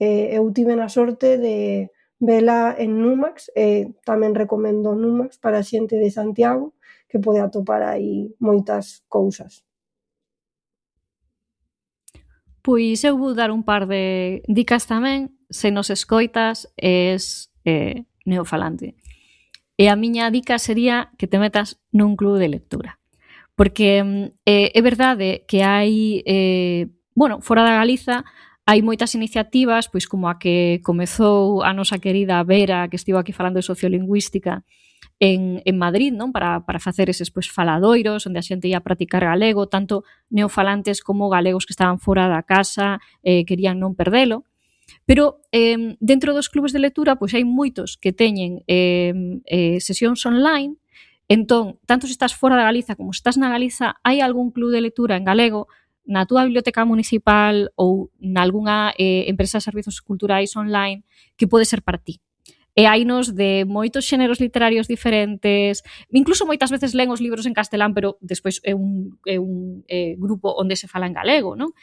Eu tive a sorte de vela en Numax, tamén recomendo Numax para a xente de Santiago, que pode atopar aí moitas cousas. Pois eu vou dar un par de dicas tamén. Se nos escoitas és neofalante. E a miña dica sería que te metas nun club de lectura. Porque é verdade que hai, fora da Galiza, hai moitas iniciativas, pois como a que comezou a nosa querida Vera, que estivo aquí falando de sociolingüística, en Madrid, non? Para facer eses faladoiros onde a xente ia practicar galego, tanto neofalantes como galegos que estaban fora da casa, querían non perdelo. Pero dentro dos clubes de lectura pois hai moitos que teñen sesións online. Entón, tanto se estás fora da Galiza como se estás na Galiza, hai algún club de lectura en galego na túa biblioteca municipal ou nalgúna empresa de servizos culturais online que pode ser para ti. E hainos de moitos xéneros literarios diferentes, incluso moitas veces len os libros en castelán, pero despois é un grupo onde se fala en galego, non?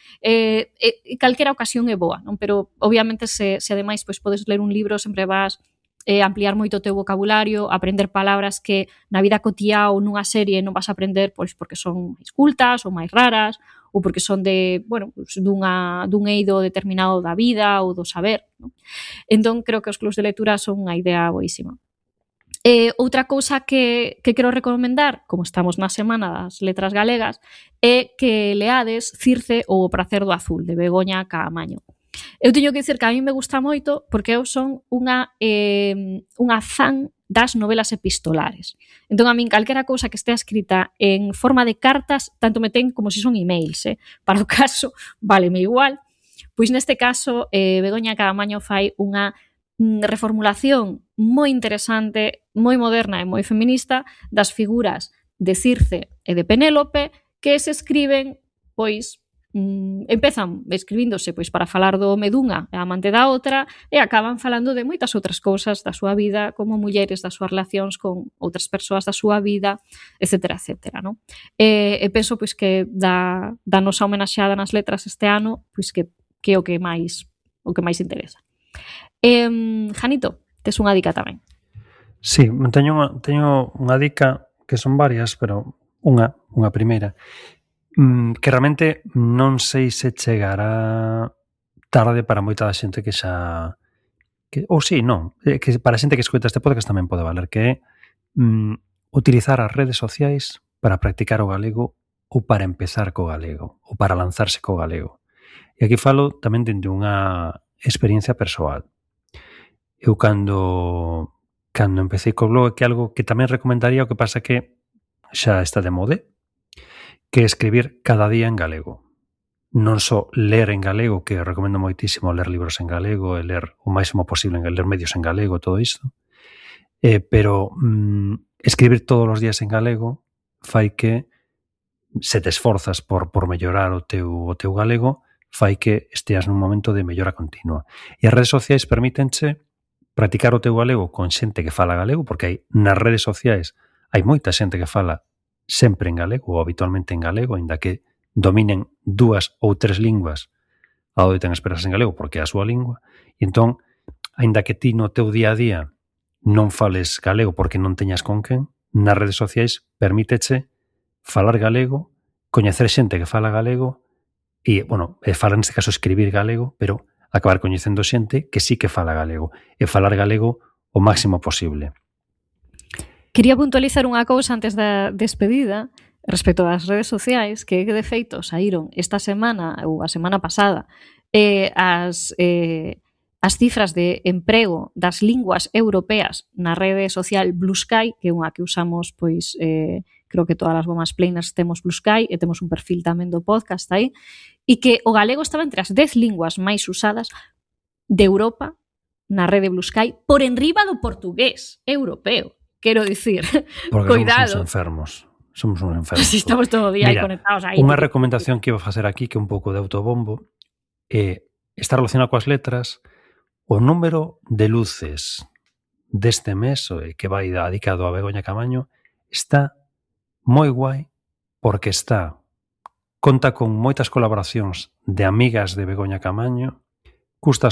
Calquera ocasión é boa, non? Pero obviamente se ademais pois podes ler un libro, sempre vas ampliar moito o teu vocabulario, aprender palabras que na vida cotiá ou nunha serie non vas a aprender pois porque son máis cultas ou máis raras, ou porque son de, dun eido determinado da vida ou do saber, non? Entón, creo que os clubs de lectura son unha idea boísima. Outra cousa que quero recomendar, como estamos na Semana das Letras Galegas, é que leades Circe ou O pracer do azul, de Begoña Caamaño. Eu teño que dicir que a mí me gusta moito porque eu son unha fan das novelas epistolares. Entón, a min, calquera cousa que estea escrita en forma de cartas, tanto me ten como se son emails, para o caso, váleme igual. Pois neste caso, Begoña Caamaño fai unha reformulación moi interesante, moi moderna e moi feminista das figuras de Circe e de Penélope que se escriben, pois, empezan escribíndose pois para falar do home dunha e a amante da outra e acaban falando de moitas outras cousas da súa vida como mulleres, das súas relacións con outras persoas da súa vida, etcétera, etcétera, non? E penso pois que da nosa homenaxeada nas letras este ano, pois que é o que máis interesa. Janito, tes unha dica tamén. Sí, teño unha dica que son varias, pero unha primeira que realmente non sei se chegará tarde para moita da xente que xa que para a xente que escoita este podcast tamén pode valer, que é utilizar as redes sociais para practicar o galego ou para empezar co galego ou para lanzarse co galego. E aquí falo tamén dende unha experiencia persoal. Eu cando empecé co blog, que é algo que tamén recomendaría, o que pasa que xa está de mode, que é escribir cada día en galego. Non só ler en galego, que recomendo moitísimo ler libros en galego e ler o máximo posible, ler medios en galego, todo isto, pero escribir todos os días en galego fai que, se te esforzas por mellorar o teu galego, fai que esteas nun momento de mellora continua. E as redes sociais permítenche practicar o teu galego con xente que fala galego, porque nas redes sociais hai moita xente que fala sempre en galego ou habitualmente en galego, aínda que dominen 2 ou 3 linguas, adoitan expresarse en galego porque é a súa lingua, e entón, aínda que ti no teu día a día non fales galego porque non teñas con quen, nas redes sociais permíteche falar galego, coñecer xente que fala galego e, falar neste caso escribir galego, pero acabar coñecendo xente que sí que fala galego e falar galego o máximo posible. Quería puntualizar unha cousa antes da despedida respecto das redes sociais, que de feito saíron esta semana ou a semana pasada as cifras de emprego das linguas europeas na rede social Blue Sky, que é unha que usamos, pois, creo que todas as gomas planers temos Blue Sky e temos un perfil tamén do podcast aí, e que o galego estaba entre as 10 linguas máis usadas de Europa na rede Blue Sky por enriba do portugués europeo. Quero dicir, porque cuidado. Somos uns enfermos. Si estamos todo o día aí conectados aí. Unha recomendación que iba a facer aquí, que é un pouco de autobombo, está relacionado coas letras. O número de luces deste mes, que vai dedicado a Begoña Caamaño, está moi guai porque conta con moitas colaboracións de amigas de Begoña Caamaño, custa